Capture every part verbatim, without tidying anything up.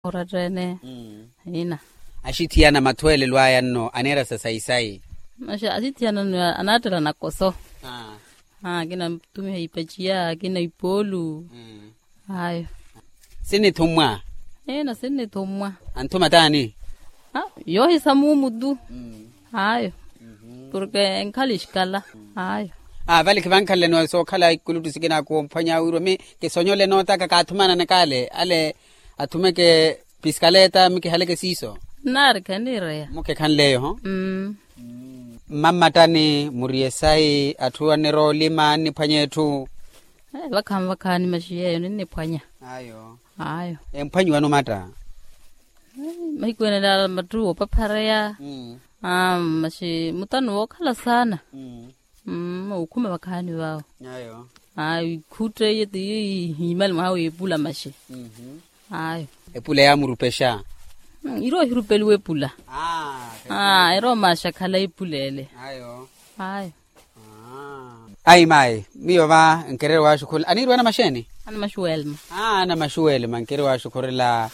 Oratta-ene. Ina. Axithiyana mathwelelo aya nno aneera sa sayi-sayi. Maxa axithiyana nno anaattela nakoso. Akina attumiha ipaciya akina ipoolu. Ayo. Sinnithummwa. Ina sinnithummwa. Anthuma taani? Yoohisa muumu tu. Ayo. Porke enkhala exikala. Ayo. Vale khivankhaleleni sookhala ikulutu sikina koophwanya wirwa mi kisonyole nootaka kaathumananaka ale ale athumeke piskaleta mi kihaleke siiso. Nnaari kheniireya. Mukhe khanleyo ho. Mmammattani muriye sayi atthu anniroolima anniphwanya etthu. Vakhaani vakhaani maxi yeeyo ninniphwanya. Ayo. Ayo. Emphwanyiwani omatta? Mahiku ene laala mattu oopaphareya. Maxi mutano wookhala saana. Okhuma vakhaani vawo. Ayo. Ikhutteiye ti ihiimali mwaha w'epula maxi. Ayo. Epula yaamurupexa? Irowa ohirupeliwa epula. Erowa maaxakhala epula ele. Ayo. Ayi mayi miyo va nkireere waaxukhurela aniiriwa anamaxeeni? Anamaxuwelma. Anamaxuwelma nkireere waaxukhurela.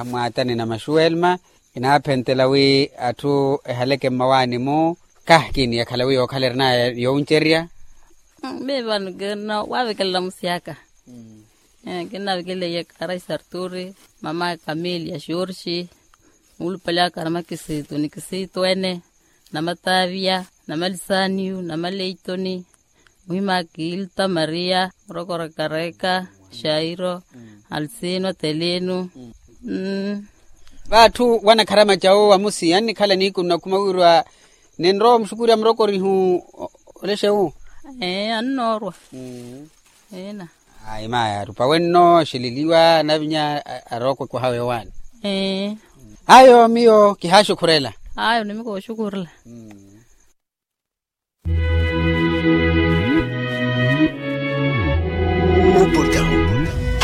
Mwaatani namaxuwelma. Kinaaphentela wi atthu ehaleke mmawaani-mu. Kahikini yakhala wi yookhala erinaya yowuncerya. Miyo vano kinna waavekelela musi aka. Kinnavekeleiye karai sarturi, mama kamelia xorxi, muulupale aka namakisitu ni kisitu ene, namataaviya, namalisaniyu namaleitoni, muhima kilta mariya, murokora kareka, xairo, alsino telino. Vaatthu wanakharamaca owo wamusi annikhala niikuni nakhuma wiirwa ninrowa omuxukurya murokorihu. Olexe wu. Ee annoorwa. Ina. Ayi mayi arupa wenno axililiwa anavinya arookwe kwaha wewaani. Ee. Ayo miyo kihaaxukhurela. Ayo nimikooxukhurela.